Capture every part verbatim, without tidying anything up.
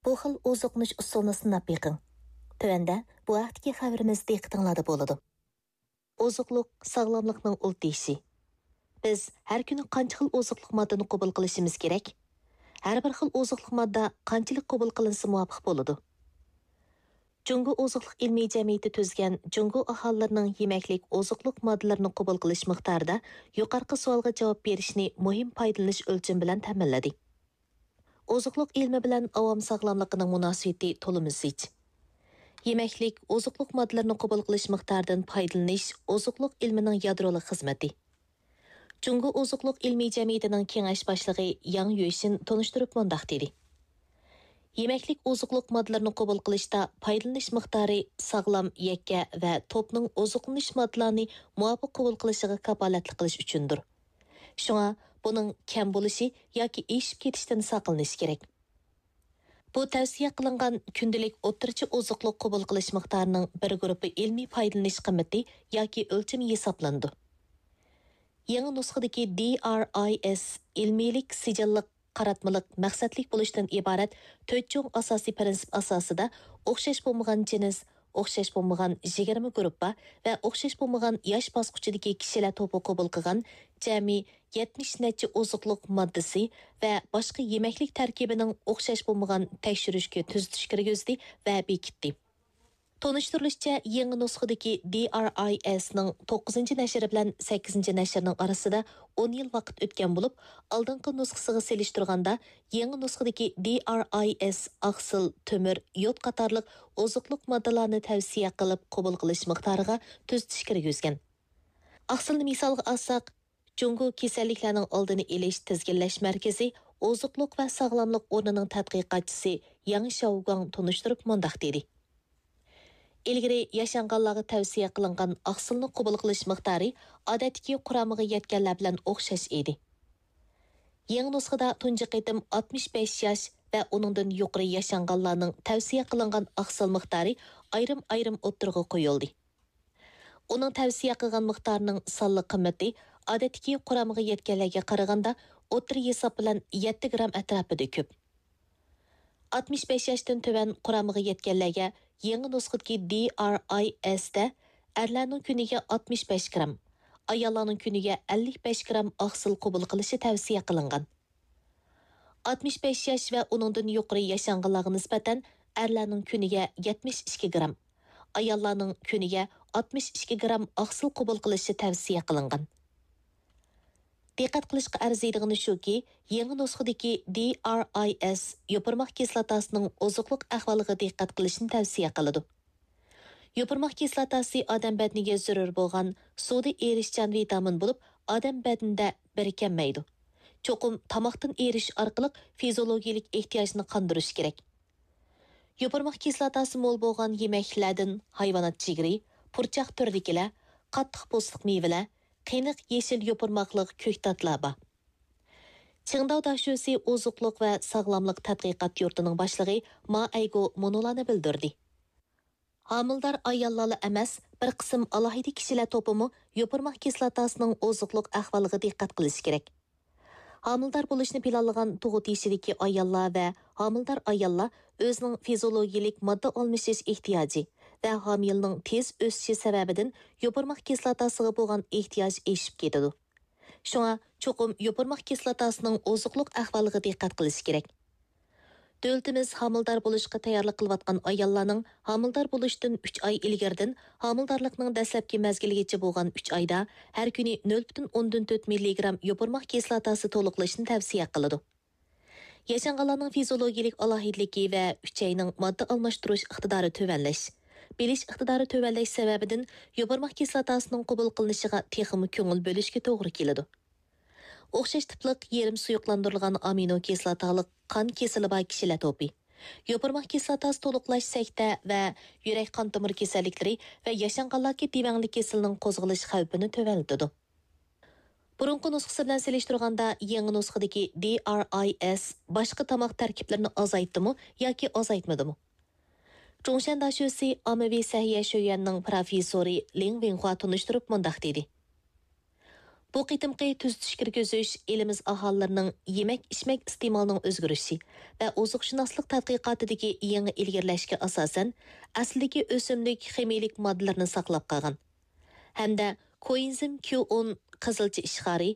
بۇ خىل ئوزۇقلىنىش ئۇسۇلىنى سىناپ بېقىڭ. تۆۋەندە بۇ ھەقتىكى خەۋىرىمىز دىققىتىڭلاردا بولىدۇ. ئوزۇقلۇق ساغلاملىقنىڭ ئۇل تېشى. بىز ھەر كۈنى قانچە خىل ئوزۇقلۇق ماددىنى قوبۇل قىلىشىمىز كېرەك؟ ھەر بىر خىل ئوزۇقلۇق ماددا قانچىلىك قوبۇل قىلىنسا مۇۋاپىق بولىدۇ؟ جۇڭگو ئوزۇقلۇق ئىلمىي جەمئىيىتى تۈزگەن جۇڭگو ئاھالىلىرىنىڭ يېمەكلىك ئوزۇقلۇق ماددىلىرىنى قوبۇل قىلىش مىقدارىدا يۇقىرىقى سوئالغا جاۋاب بېرىشنى مۇھىم پايدىلىنىش ئۆلچىمى بىلەن تەمىنلىدى. ئوزۇقلۇق ئىلمى بىلەن ئاۋام ساغلاملىقىنىڭ مۇناسىۋىتى تولىمۇ زىچ. يېمەكلىك، ئوزۇقلۇق ماددىلىرىنى قوبۇل قىلىش مىقدارىدىن پايدىلىنىش ئوزۇقلۇق ئىلمىنىڭ يادرولۇق خىزمىتى. جۇڭگو ئوزۇقلۇق ئىلمىي جەمئىيىتىنىڭ كېڭەش باشلىقى ياڭ يۈشىن تونۇشتۇرۇپ مۇنداق دېدى: يېمەكلىك ئوزۇقلۇق ماددىلىرىنى قوبۇل قىلىشتا پايدىلىنىش مىقدارى ساغلام، يەككە ۋە توپنىڭ ئوزۇقلىنىش ماددىلارنى مۇۋاپىق قوبۇل قىلىشىغا كاپالەتلىك قىلىش ئۈچۈندۇر. شۇڭا بۇنىڭ كەم بولۇشى ياكى ئېشىپ كېتىشتىن ساقلىنىش كېرەك. بۇ تەۋسىيە قىلىنغان كۈندىلىك ئوتتۇرىچە ئوزۇقلۇق قوبۇل قىلىش مىقدارىنىڭ بىر گۇرۇپپا ئىلمىي پايدىلىنىش قىممىتى ياكى ئۆلچىمى ھېسابلىنىدۇ. يېڭى نۇسخىدىكى دى ئار ئاي ئېس ئىلمىيلىك سىجىللىق قاراتمىلىق مەقسەتلىك بولۇشتىن ئىبارەت تۆت چوڭ ئاساسىي پىرىنسىپ ئاساسىدا ئوخشاش بولمىغان جىنس، ئوخشاش بولمىغان يىگىرمە گۇرۇپپا ۋە ئوخشاش بولمىغان ياش باسقۇچىدىكى كىشىلەر توپى قوبۇل قىلغان جەمئىي يەتمىش نەچچە ئوزۇقلۇق ماددىسى ۋە باشقا يېمەكلىك تەركىبىنىڭ ئوخشاش بولمىغان تەكشۈرۈشكە تۈزىتىش كىرگۈزدى ۋە بېكىتتى. تونۇشتۇرۇلۇشىچە، يېڭى نۇسخىدىكى دى ئار ئاي ئېسنىڭ توققۇزىنچى نەشرى بىلەن سەككىزىنچى نەشرىنىڭ ئارىسىدا ئون يىل ۋاقىت ئۆتكەن بولۇپ، ئالدىنقى نۇسخىسىغا سېلىشتۇرغاندا، يېڭى نۇسخىدىكى دى ئار ئاي ئېس ئاقسىل، تۆمۈر، يود قاتارلىق ئوزۇقلۇق ماددىلارنى تەۋسىيە قىلىپ قوبۇل قىلىش مىقدارىغا تۈزىتىش كىرگۈزگەن. ئاقسىلنى مىسالغا ئالساق، جۇڭگو كېسەللىكلەرنىڭ ئالدىنى ئېلىش تىزگىنلەش مەركىزى ئوزۇقلۇق ۋە ساغلاملىق ئورنىنىڭ تەتقىقاتچىسى ياڭ شياۋگۇاڭ تونۇشتۇرۇپ مۇنداق دېدى: ئىلگىرى ياشانغانلارغا تەۋسىيە قىلىنغان ئاقسىلنى قوبۇل قىلىش مىقدارى ئادەتتىكى قۇرامىغا يەتكەنلەر بىلەن ئوخشاش ئىدى. يېڭى نۇسخىدا تۇنجى قېتىم ئاتمىش بەش ياش ۋە ئۇنىڭدىن يۇقىرى ياشانغانلارنىڭ تەۋسىيە قىلىنغان ئاقسىل مىقدارى ئايرىم-ئايرىم ئوتتۇرىغا قويۇلدى. ئۇنىڭ تەۋسىيە قىلغان مىقدارىنىڭ سانلىق قىممىتى ئادەتتىكى قۇرامىغا يەتكەنلەرگە قارىغاندا ئوتتۇرا ھېساب بىلەن يەتتە گرام ئەتراپىدا كۆپ. ئاتمىش بەش ياشتىن تۆۋەن قۇرامىغا يەتكەنلەرگە يېڭى نۇسخىدىكى دى ئار ئاي ئېس تە ئەرلەرنىڭ كۈنىگە ئاتمىش بەش گرام، ئاياللارنىڭ كۈنىگە ئەللىك بەش گرام ئاقسىل قوبۇل قىلىشى تەۋسىيە قىلىنغان. ئاتمىش بەش ياش ۋە ئۇنىڭدىن يۇقىرى ياشانغانلارغا نىسبەتەن ئەرلەرنىڭ كۈنىگە يەتمىش ئىككى گرام، ئاياللارنىڭ كۈنىگە ئاتمىش ئىككى گرام ئاقسىل قوبۇل قىلىشى تەۋسىيە قىلىنغان. دىققەت قىلىشقا ئەرزىيدىغىنى شۇكى، يېڭى نۇسخىدىكى دى ئار ئاي ئېس يوپۇرماق كىسلاتاسىنىڭ ئوزۇقلۇق ئەھۋالىغا دىققەت قىلىشنى تەۋسىيە قىلىدۇ. يوپۇرماق كىسلاتاسى ئادەم بەدىنىگە زۆرۈر بولغان سۇدا ئېرىشچان ۋىتامىن بولۇپ، ئادەم بەدىنىدە بىرىكەلمەيدۇ. چوقۇم تاماقتىن ئېرىشىش ئارقىلىق فىزىيولوگىيەلىك ئېھتىياجنى قاندۇرۇش كېرەك. يوپۇرماق كىسلاتاسى مول بولغان يېمەكلىكلەردىن ھايۋانات جىگىرى، پۇرچاق تۈرىدىكىلەر، قاتتىق پوستلۇق مېۋىلەر، قېنىق يېشىل يوپۇرماقلىق كۆكتاتلار بار. چىڭداۋ داشۆسى ئوزۇقلۇق ۋە ساغلاملىق تەتقىقات يۇرتىنىڭ باشلىقى ما ئەيگو مۇنۇلارنى بىلدۈردى. ھامىلىدار ئاياللارلا ئەمەس، بىر قىسىم ئالاھىدە كىشىلەر توپىمۇ يوپۇرماق كىسلاتاسىنىڭ ئوزۇقلۇق ئەھۋالىغا دىققەت قىلىشى كېرەك. ھامىلىدار بولۇشنى پىلانلىغان تۇغۇت يېشىدىكى ئاياللار ۋە ھامىلىدار ئاياللار ئۆزىنىڭ فىزىيولوگىيەلىك ماددا ئالمىشىش ئېھتىياجى ۋە ھامىلىنىڭ تېز ئۆسۈشى سەۋەبىدىن يوپۇرماق كىسلاتاسىغا بولغان ئېھتىياج ئېشىپ كېتىدۇ. شۇڭا چوقۇم يوپۇرماق كىسلاتاسىنىڭ ئوزۇقلۇق ئەھۋالىغا دىققەت قىلىش كېرەك. دۆلىتىمىز ھامىلىدار بولۇشقا تەييارلىق قىلىۋاتقان ئاياللارنىڭ ھامىلىدار بولۇشتىن ئۈچ ئاي ئىلگىرىدىن ھامىلىدارلىقنىڭ دەسلەپكى مەزگىلىگىچە بولغان ئۈچ ئايدا ھەر كۈنى نۆل پۈتۈن ئوندىن تۆت مىللىگرام يوپۇرماق كىسلاتاسى تولۇقلىشىنى تەۋسىيە قىلىدۇ. ياشانغانلارنىڭ فىزىيولوگىيەلىك ئالاھىدىلىكى ۋە ئۈچەينىڭ ماددا ئالماشتۇرۇش ئىقتىدارى تۆۋەنلەش، بىلىش ئىقتىدارى تۆۋەنلەش سەۋەبىدىن يوپۇرماق كىسلاتاسىنىڭ قوبۇل قىلىنىشىغا تېخىمۇ كۆڭۈل بۆلۈشكە توغرا كېلىدۇ. ئوخشاش تىپلىق يېرىم سۇيۇقلاندۇرۇلغان ئامىنو كىسلاتالىق قان كېسىلى بار كىشىلەر توپى، يوپۇرماق كىسلاتاسى تولۇقلاش سەكتە ۋە يۈرەك قان تومۇر كېسەللىكلىرى ۋە ياشانغانلاردىكى دېۋەڭلىك كېسىلىنىڭ قوزغىلىش خەۋپىنى تۆۋەنلىتىدۇ. بۇرۇنقى نۇسخىسى بىلەن سېلىشتۇرغاندا، يېڭى نۇسخىدىكى دى ئار ئاي ئېس باشقا تاماق تەركىبلىرىنى ئازايتتىمۇ ياكى ئازايتمىدىمۇ؟ جۇڭشەن داشۆسى ئاممىۋى سەھىيە شۆيۈەننىڭ پىروفېسسورى لىڭ ۋېنخۇا تونۇشتۇرۇپ مۇنداق دېدى. بۇ قېتىمقى تۈزىتىش كىرگۈزۈش ئېلىمىز ئاھالىلىرىنىڭ يېمەك-ئىچمەك ئىستېمالىنىڭ ئۆزگىرىشى ۋە ئوزۇقشۇناسلىق تەتقىقاتىدىكى يېڭى ئىلگىرىلەشكە ئاساسەن، ئەسلىدىكى ئۆسۈملۈك خىمىيىلىك ماددىلىرىنى ساقلاپ قالغان ھەمدە كوئېنزىم كيۇ ئون، قىزىلچا ئىشخارى،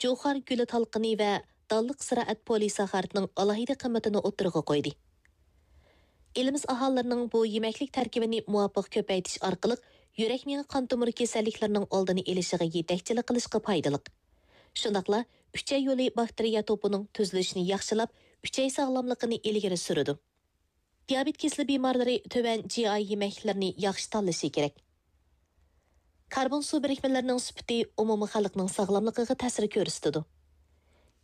جۇخار گۈلى تالقىنى ۋە دانلىق زىرائەت پولىساخارىدنىڭ ئالاھىدە قىممىتىنى ئوتتۇرىغا قويدى. ئېلىمىز ئاھالىلىرىنىڭ بۇ يېمەكلىك تەركىبىنى مۇۋاپىق كۆپەيتىش ئارقىلىق يۈرەك مېڭە قان تومۇر كېسەللىكلىرىنىڭ ئالدىنى ئېلىشىغا يېتەكچىلىك قىلىشقا پايدىلىق. شۇنداقلا ئۈچەي يولى باكتېرىيە توپىنىڭ تۈزۈلۈشىنى ياخشىلاپ، ئۈچەي ساغلاملىقىنى ئىلگىرى سۈرىدۇ. دىيابېت كېسىلى بىمارلىرى تۆۋەن جى ئاي يېمەكلىرىنى ياخشى تاللىشى كېرەك. كاربون سۇ بىرىكمىلىرىنىڭ سۈپىتى ئومۇمىي خەلقنىڭ ساغلاملىقىغا تەسىر كۆرسىتىدۇ.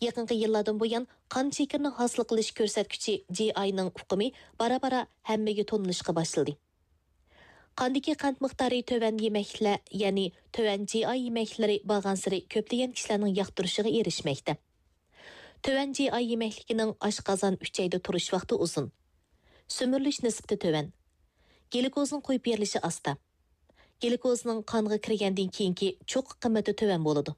يېقىنقى يىللاردىن بۇيان، قان شېكىرىنى ھاسىل قىلىش كۆرسەتكۈچى جى ئاينىڭ ئۇقۇمى بارا-بارا ھەممىگە تونۇلۇشقا باشلىدى. قاندىكى قەنت مىقدارى تۆۋەن يېمەكلىكلەر، يەنى تۆۋەن جى ئاي يېمەكلىكلىرى بارغانسېرى كۆپلىگەن كىشىلەرنىڭ ياقتۇرۇشىغا ئېرىشمەكتە. تۆۋەن جى ئاي يېمەكلىكىنىڭ ئاشقازان ئۈچەيدە تۇرۇش ۋاقتى ئۇزۇن. سۈمۈرۈلۈش نىسبىتى تۆۋەن. گلۇكوزنىڭ قويۇپ بېرىلىشى ئاستا. گلۇكوزنىڭ قانغا كىرگەندىن كېيىنكى چوققا قىممىتى تۆۋەن بولىدۇ.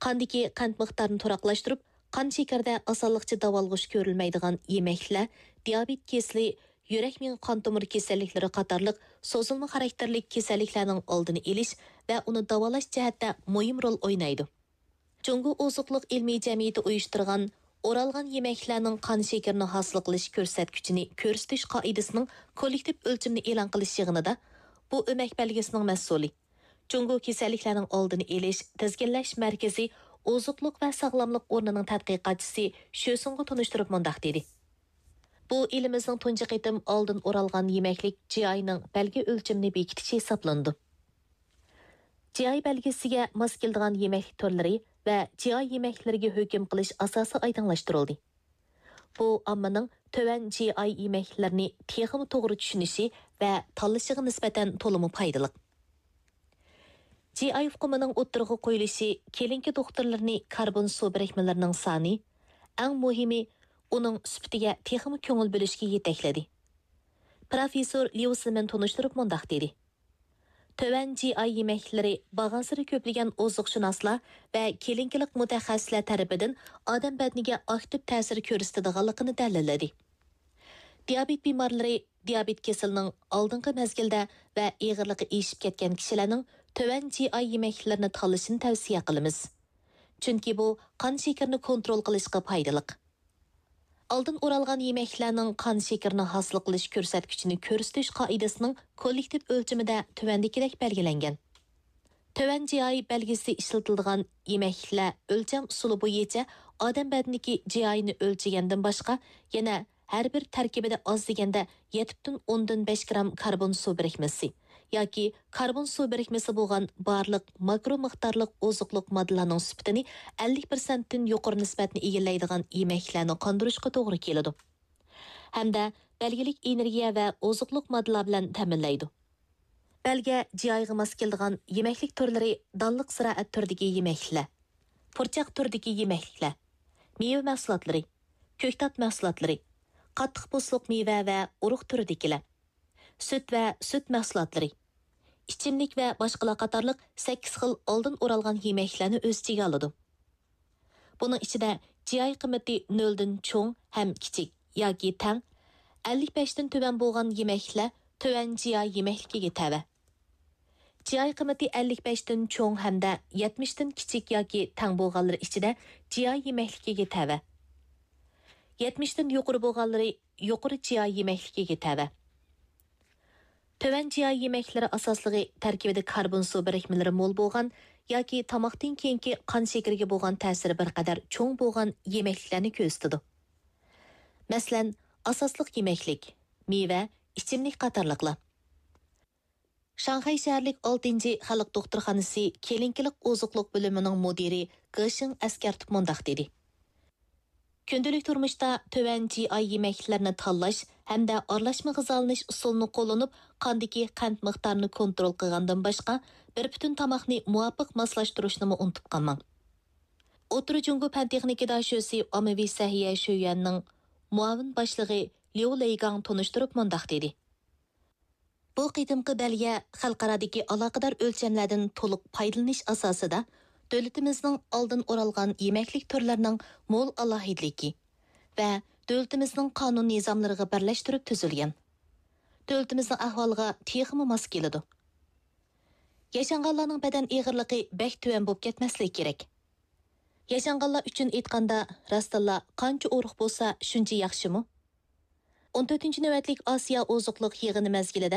قاندىكى قەنت مىقدارىنى تۇراقلاشتۇرۇپ، قان شېكىرىدە ئاسانلىقچە داۋالغۇش كۆرۈلمەيدىغان يېمەكلىكلەر دىيابېت كېسىلى، يۈرەك مېڭە قان تومۇر كېسەللىكلىرى قاتارلىق سوزۇلما خاراكتېرلىك كېسەللىكلەرنىڭ ئالدىنى ئېلىش ۋە ئۇنى داۋالاش جەھەتتە مۇھىم رول ئوينايدۇ. جۇڭگو ئوزۇقلۇق ئىلمىي جەمئىيىتى ئۇيۇشتۇرغان ئورالغان يېمەكلىكلەرنىڭ قان شېكىرىنى ھاسىل قىلىش كۆرسەتكۈچىنى كۆرسىتىش قائىدىسىنىڭ كوللېكتىپ ئۆلچىمىنى ئېلان قىلىش يىغىنىدا بۇ ئۆمەك بەلگىسىنىڭ مەسئۇلى، جۇڭگو كېسەللىكلەرنىڭ ئالدىنى ئېلىش، تىزگىنلەش مەركىزى ئوزۇقلۇق ۋە ساغلاملىق ئورنىنىڭ تەتقىقاتچىسى شۆسۇڭغا تونۇشتۇرۇپ مۇنداق دېدى: بۇ ئېلىمىزنىڭ تۇنجى قېتىم ئالدىن ئورالغان يېمەكلىك جى ئاينىڭ بەلگە ئۆلچىمىنى بېكىتىشى ھېسابلىنىدۇ. جى ئاي بەلگىسىگە ماس كېلىدىغان يېمەكلىك تۈرلىرى ۋە جى ئاي يېمەكلىرىگە ھۆكۈم قىلىش ئاساسى ئايدىڭلاشتۇرۇلدى. بۇ ئاممىنىڭ تۆۋەن جى ئاي يېمەكلىرىنى تېخىمۇ توغرا چۈشىنىشى ۋە تاللىشىغا نىسبەتەن تولىمۇ پايدىلىق. جى ئاي ئۇقۇمىنىڭ ئوتتۇرىغا قويۇلۇشى كلىنىكا دوختۇرلىرىنى كاربون سۇ بىرىكمىلىرىنىڭ سانى، ئەڭ مۇھىمى، ئۇنىڭ سۈپىتىگە تېخىمۇ كۆڭۈل بۆلۈشكە يېتەكلىدى. پىروفېسسور ليۇ سىمېن تونۇشتۇرۇپ مۇنداق دېدى: تۆۋەن جى ئاي يېمەكلىكلىرى بارغانسېرى كۆپلىگەن ئوزۇقشۇناسلار ۋە كلىنىكىلىق مۇتەخەسسىسلەر تەرىپىدىن ئادەم بەدىنىگە ئاكتىپ تەسىر كۆرسىتىدىغانلىقىنى دەلىللىدى. دىيابېت بىمارلىرى دىيابېت كېسىلىنىڭ ئالدىنقى مەزگىلدە ۋە ئېغىرلىقى ئېشىپ كەتكەن كىشىلەرنىڭ تۆۋەن جى ئاي يېمەكلىكلىرىنى تاللىشىنى تەۋسىيە قىلىمىز. چۈنكى بۇ قان شېكىرىنى كونترول قىلىشقا پايدىلىق. ئالدىن ئورالغان يېمەكلىكلەرنىڭ قان شېكىرىنى ھاسىل قىلىش كۆرسەتكۈچىنى كۆرسىتىش قائىدىسىنىڭ كوللېكتىپ ئۆلچىمىدە تۆۋەندىكىدەك بەلگىلەنگەن. تۆۋەن جى ئاي بەلگىسى ئىشلىتىلىدىغان يېمەكلىكلەر ئۆلچەم ئۇسۇلى بويىچە ئادەم بەدىنىدىكى جى ئاينى ئۆلچىگەندىن باشقا، يەنە ھەر بىر تەركىبىدە ئاز دېگەندە يەتتىن ئوندىن بەش گرام كاربون سۇ بىرىكمىسى ياكى كاربون سۇ بىرىكمىسى بولغان بارلىق ماكرو مىقدارلىق ئوزۇقلۇق ماددىلارنىڭ سۈپىتىنى ئەللىك پىرسەنتتىن يۇقىرى نىسبەتنى ئىگىلەيدىغان يېمەكلىكلەرنى قاندۇرۇشقا توغرا كېلىدۇ. ھەمدە بەلگىلىك ئېنېرگىيە ۋە ئوزۇقلۇق ماددىلار بىلەن تەمىنلەيدۇ. بەلگە جى ئايغا ماس كېلىدىغان يېمەكلىك تۈرلىرى دانلىق زىرائەت تۈرىدىكى يېمەكلىكلەر، پۇرچاق تۈرىدىكى يېمەكلىكلەر، مېۋە مەھسۇلاتلىرى، كۆكتات مەھسۇلاتلىرى، قاتتىق پوستلۇق مېۋە ۋە ئۇرۇق تۈرىدىكىلەر، سۈت ۋە سۈت مەھسۇلاتلىرى، ئىچىملىك ۋە باشقىلار قاتارلىق سەككىز خىل ئالدىن ئورالغان يېمەكلىكلەرنى ئۆز ئىچىگە ئالىدۇ. بۇنىڭ ئىچىدە جى ئاي قىممىتى نۆلدىن چوڭ ھەم كىچىك ياكى تەڭ، ئەللىك بەشتىن تۆۋەن بولغان يېمەكلىكلەر تۆۋەن جى ئاي يېمەكلىكىگە تەۋە. جى ئاي قىممىتى ئەللىك بەشتىن چوڭ ھەمدە يەتمىشتىن كىچىك ياكى تەڭ بولغانلىرى ئىچىدە جى ئاي يېمەكلىكىگە تەۋە. يەتمىشتىن يۇقىرى بولغانلىرى يۇقىرى جى ئاي يېمەكلىكىگە تەۋە. تۆۋەن جى ئاي يېمەكلىرى ئاساسلىقى تەركىبىدە كاربون سۇ بىرىكمىلىرى مول بولغان ياكى تاماقتىن كېيىنكى قان شېكىرىگە بولغان تەسىرى بىر قەدەر چوڭ بولغان يېمەكلىكلەرنى كۆرسىتىدۇ. مەسىلەن، ئاساسلىق يېمەكلىك، مېۋە، ئىچىملىك قاتارلىقلار. شاڭخەي شەھەرلىك ئالتىنچى خەلق دوختۇرخانىسى كلىنىكىلىق ئوزۇقلۇق بۆلۈمىنىڭ مۇدىرى گېشىڭ ئەسكەرتىپ مۇنداق دېدى: كۈندىلىك تۇرمۇشتا تۆۋەن جى ئاي يېمەكلىكلەرنى تاللاش ھەمدە ئارىلاشما غىزالىنىش ئۇسۇلىنى قوللىنىپ، قاندىكى قەنت مىقدارىنى كونترول قىلغاندىن باشقا، بىر پۈتۈن تاماقنى مۇۋاپىق ماسلاشتۇرۇشنىمۇ ئۇنتۇپ قالماڭ. ئوتتۇرا جۇڭگو پەن تېخنىكا داشۆسى ئاممىۋى سەھىيە شۆيۈەننىڭ مۇئاۋىن باشلىقى ليۇ لېيگاڭ تونۇشتۇرۇپ مۇنداق دېدى: بۇ قېتىمقى بەلگە خەلقئارادىكى ئالاقىدار ئۆلچەملەردىن تولۇق پايدىلىنىش ئاساسىدا، دۆلىتىمىزنىڭ ئالدىن ئورالغان يېمەكلىك تۈرلىرىنىڭ مول ئالاھىدىلىكى ۋە دۆلىتىمىزنىڭ قانۇن نىزاملىرىغا بىرلەشتۈرۈپ تۈزۈلگەن. دۆلىتىمىزنىڭ ئەھۋالىغا تېخىمۇ ماس كېلىدۇ. ياشانغانلارنىڭ بەدەن ئېغىرلىقى بەك تۆۋەن بولۇپ كەتمەسلىكى كېرەك. ياشانغانلار ئۈچۈن ئېيتقاندا، راستتىنلا قانچە ئۇرۇق بولسا شۇنچە ياخشىمۇ؟ ئون تۆتىنچى نۆۋەتلىك ئاسىيا ئوزۇقلۇق يىغىنى مەزگىلىدە